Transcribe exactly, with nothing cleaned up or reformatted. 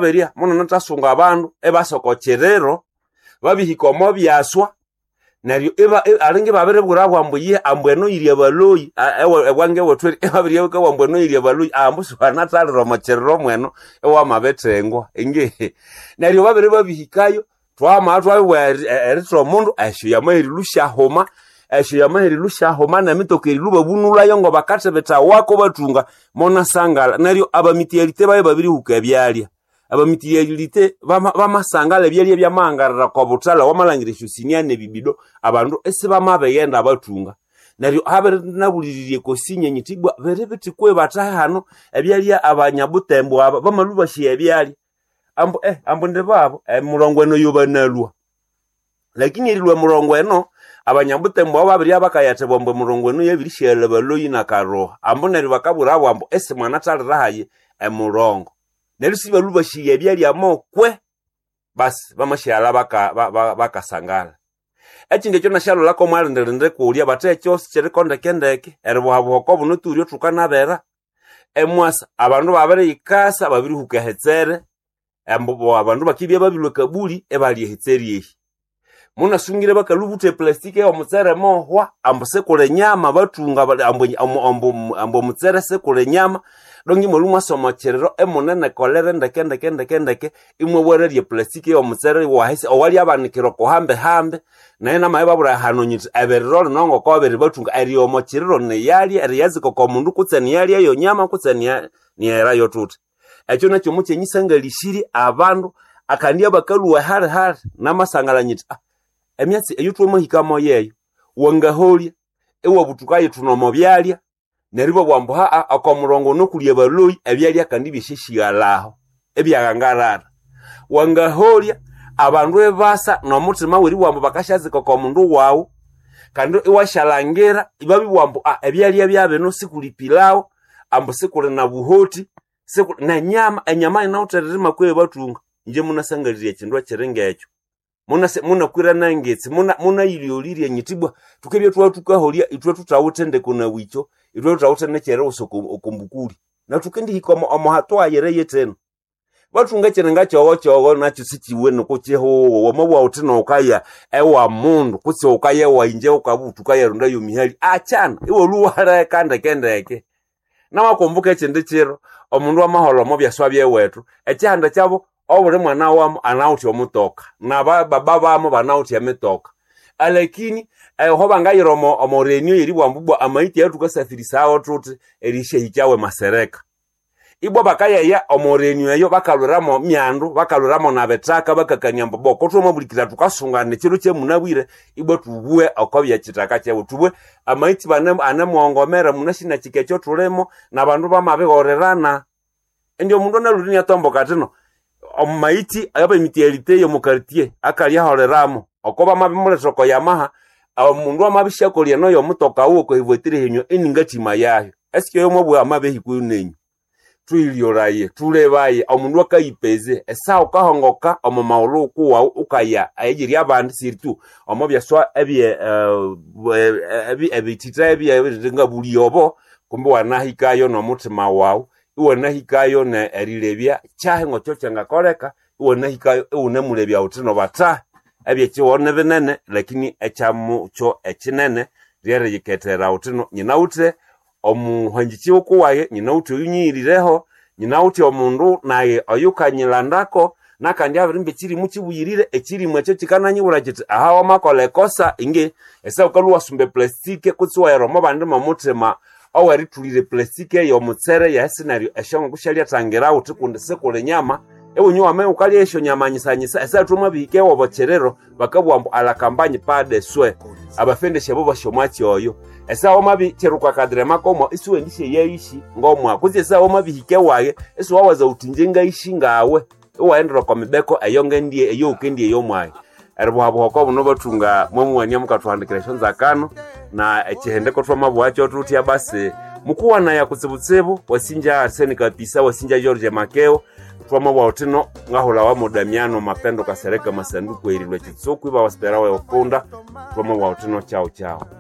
Berya munanathasunga abandu ebasa oko kiriro babihika omo byaswa neryo iba alinga ibabiribwirabo ambu iye ambu eno yiri abaloyi ewange wethu eri ibabiribwira ambu eno yiri abaloyi ambu siwanathalira omo kiriro mweno iwamabithengwa ingihi neryo babere babihikayo twamabya twabibugha eritha omundu esyo yamaherilhwa syahuma esyo yamaherilhwa syahuma nemitoka erilhwa ibabunulhayo ngabakathibitha bathunga munasangala neryo abamityalite babya babirihuka ebyalya abamityalite bamasangala ebyalya byamahangarira oko buthalha wamalhangira esyosinia nebibido abandu isibamabighenda bathunga neryo habirinabuliriria ekosinye nyithi ibwa biri bithi kwihi bathahe hano ebyalya abanyabutembo aba bamalhwa ibasya ebyalya ambu eh ambu indibabo emirongo eno yobanalhwa lakini erilhwa emirongo eno abanyabutembo abo babiribya bakayathibwa ambu emirongo eno yabirisyaghali abaloyi nakaroha ambu neryo bakabwirabo ambu isimwanathalira hayi emurongo neryo sibalhwa basyaya ebyalya mokwe basi bamasyaghalha baka bakasangala ekindi ekyo nasyalholako omwalindilindi kulya bathe ekyosi kiriko ndekendeke eribuhabuha oko buno thulyo thukanabera emwasa abandu babiriyikasa babirihuka ehitsere ambu abandu bakibya babilhwa ekabuli ibalya ehitsere ehi munasungire bakalhubutha eplastic eyomutsere mohwa ambu sikuli nyama bathunga ambu ambu omutsere sikuli nyama donge imwalhwa imwasa omo kiriro imunenekolere ndeke ndeke ndeke ndeke imwabwererya eplastic eyomutsere iwahisi owalyabanikira oko hambi hambi naye namabibabwira hano nyithi ebiriro lino ngoko babiribathunga erigha omo kiriro niyalya eriyazika oko mundu kutse niyalya eyo nyama kutse niyaherayo thuthi ekyo nakyo mukyenyisangalhisirye abandu akandi abakalhwa hali hali namasangala nyithi ah emyatsi eyo thwamahikamo yeyo wangaholya iwabuthuka yithuna omo byalya neryo ibabugha ambu haa oko murongo ono kuli abaloyi ebyalya kandi byasyashighalhaho ibyaghangalhara wangaholya abandu ibasa nomuthima weribugha ambu bakasyazika oko mundu wawu kandi iwasyalangira ibabibugha ambu ah ebyalya byabino sikuli pilawo ambu sikuli na buhoti sikuli nenyama enyama yinawithe eririma kwihi bathunga inje munasangalirya ekindu ekiri ngekyo munakwira nangitsi munayilhyolirya nyithi ibwa thukibya thwathukaholya ithwe thuthawithe ndeko nawikyo ithwe thuthawithe nekyeriwusa okombukuli nathukendihika omo hatua yere yithino bathunga ekiringa kyoghokyogho nakyo sikiwene kukihuwo wamabugha wuthi nowukaya ewa mundu kutse wukaya ewayinje wukabutha wukayarondaya emihali akyana iwalhwa iwaleka ndekendeke namakumbuka ekindi kiro omundu amaholha omo byaswa byewethu ekihanda kyabo obuli mwana wamo anawithe omutoka nabababa bamo banawithe emitoka alakini eho bangayira omo omo renio yeribugha ambu ibwa amaiti ayathukasafirisawo thuthi erisyahikyawo emasereka ibwa bakayeya omo renio eyo bakalhwiramo myandu bakalhwiramo nabithaka bakakania ambu bo kothwamabulikirira thukasungana ekiro kyamunabwire ibwa thubughe oko byekithaka kyewu thubughe amaiti anemuhongomera munashinakika ekyo thulimo nabandu bamabihorerana indi omundu analhwire iniatomboka athino omumaiti abemitialite yomu quartier akalyaholeramo oko bamabimulethera oko yamaha omundu amabisyakolya eno yomutoka wuwe oko evuatire henywa iningathima yayo esike yomwabugha amabihikwayo nenyu thuyilyoraye thulebaye omundu akayipeze esaha wukahongoka omo maghulhu kuwawu ukaya eyiri abandi siritu omo byaswa ebye ebithitha ebye ngabulya obo kumbi wanahikayo nomuthima wawu iwanahikayo erilebya kyahi ngokyo kyangakoleka iwanahikayo iwunemulebya wuthi nobathahi ebyekihugho nibinene lakini ekyamukyo ekinene lyeriyikethera wuthi nyinawithe omuhangikyi wukuwaye nyinawithe oyunyiyirireho nyinawithe omundu naye oyukanyilandako nakandi abirimba ekyirimu kibuyirire ekyirimu ekyo kyikananyibwira kyithi aha wamakolha ekosa ingi esaha wukalhwa iwasumba eplastic kutse iwahera omo bandi momuthima owerithulira eplastic eyomutsere yahisi neryo esyonguku syalyathangira wuthi kundi sikuli nyama iwunywa wama wukalya esyonyama nyisanyisa esaha thwamabihika ewobo kyiriro bakabugha ambu alakambanye pas de soin abafendesya abo basya omwatsi oyo esaha wamabikyiruka akadirema komwa isiwendisyayayishi ngomwa kutse esaha wamabihika ewaye isiwawaza wuthi inje ngayishi ngawe iwaghendera oko mibeko eyongendye eyowukendye eyomwayi eribuhabuha oko buno bathunga mwamuwania mukathuhandikira esyonzakano na ekihendeko thwamabugha thuthya basi mukuwanaya kutsibutsibu wasinja Arsene Kapisa wasinja George Makeo twamabugha wuthino ngahulhawa mo Damiano Mapendo Kasereka Masanduku erilwa ekitsuku iba wasipera weukunda twamabugha wuthino chao chao.